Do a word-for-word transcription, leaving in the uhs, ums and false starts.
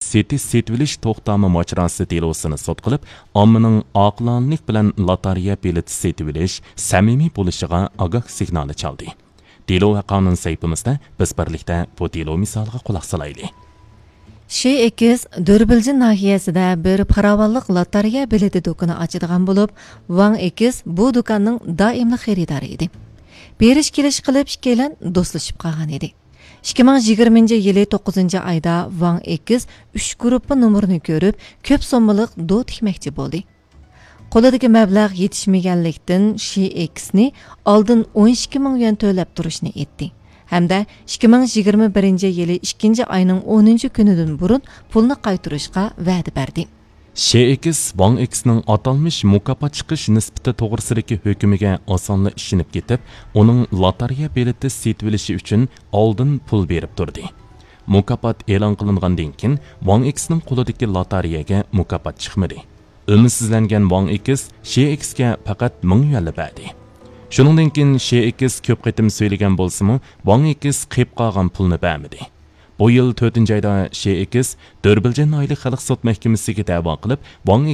سېتىش سېتىۋېلىش توختامى ماجىراسى دېلوسىنى سوت قىلىپ، ئاممىنىڭ ئاقىلانىلىك بىلەن لاتارىيە بېلىتى سېتىۋېلىش سەمىمىي بولۇشىغا ئاگاھ سىگنالى چالدى. دېلو ۋە قانۇن سەھىپىمىزدە بىز بىرلىكتە بۇ دېلو مىسالىغا قۇلاق سالايلى. شى ئېكس دۆربىلجىن ناھىيەسىدە بىر پاراۋانلىق لاتارىيە بېلىتى دۇكىنى ئاچىدىغان بولۇپ، ۋاڭ ئېكس بۇ دۇكاننىڭ دائىملىق خېرىدارى ئىدى. بېرىش كېلىش قىلىپ ئىككىيلەن دوستلىشىپ قالغان ئىدى. ئىككى مىڭ يىگىرمىنچى يىلى توققۇزىنچى ئايدا ۋاڭ ئېكس ئۈچ گۇرۇپپا نومۇرىنى كۆرۈپ، كۆپ سوممىلىق دو تىكمەكچى بولدى. قولىدىكى مەبلەغ يېتىشمىگەنلىكتىن، شى ئېكسنى ئالدىن ئون ئىككى مىڭ يۈەن تۆلەپ تۇرۇشنى ئېيتتى ھەمدە ئىككى مىڭ يىگىرمە بىرىنچى يىلى ئىككىنچى ئاينىڭ ئونىنچى كۈنىدىن بۇرۇن پۇلنى قايتۇرۇشقا ۋەدە بەردى. شى ئېكس ۋاڭ ئېكسنىڭ ئاتالمىش مۇكاپات چىقىش نىسبىتى توغرىسىدىكى ھۆكمىگە ئاسانلا ئىشىنىپ كېتىپ، ئۇنىڭ لاتارىيە بېلىتى سېتىۋېلىشى ئۈچۈن ئالدىن پۇل بېرىپ تۇردى. مۇكاپات ئېلان قىلىنغاندىن كېيىن، ۋاڭ ئېكسنىڭ قولىدىكى لاتارىيەگە مۇكاپات چىقمىدى. ئۈمىدسىزلەنگەن ۋاڭ ئېكس شى ئېكسكە پەقەت مىڭ يۈەنلا بەردى. شۇنىڭدىن كېيىن شى ئېكس كۆپ قېتىم سۆيلىگەن بولسىمۇ، ۋاڭ ئېكس قېلىپ قالغان پۇلنى بەرمىدى. بۇ يىل تۆتىنچى ئايدا شى ئېكس دۆربىلجىن ناھىيەلىك خەلق سوت مەھكىمىسىگە دەۋا قىلىپ، ۋاڭ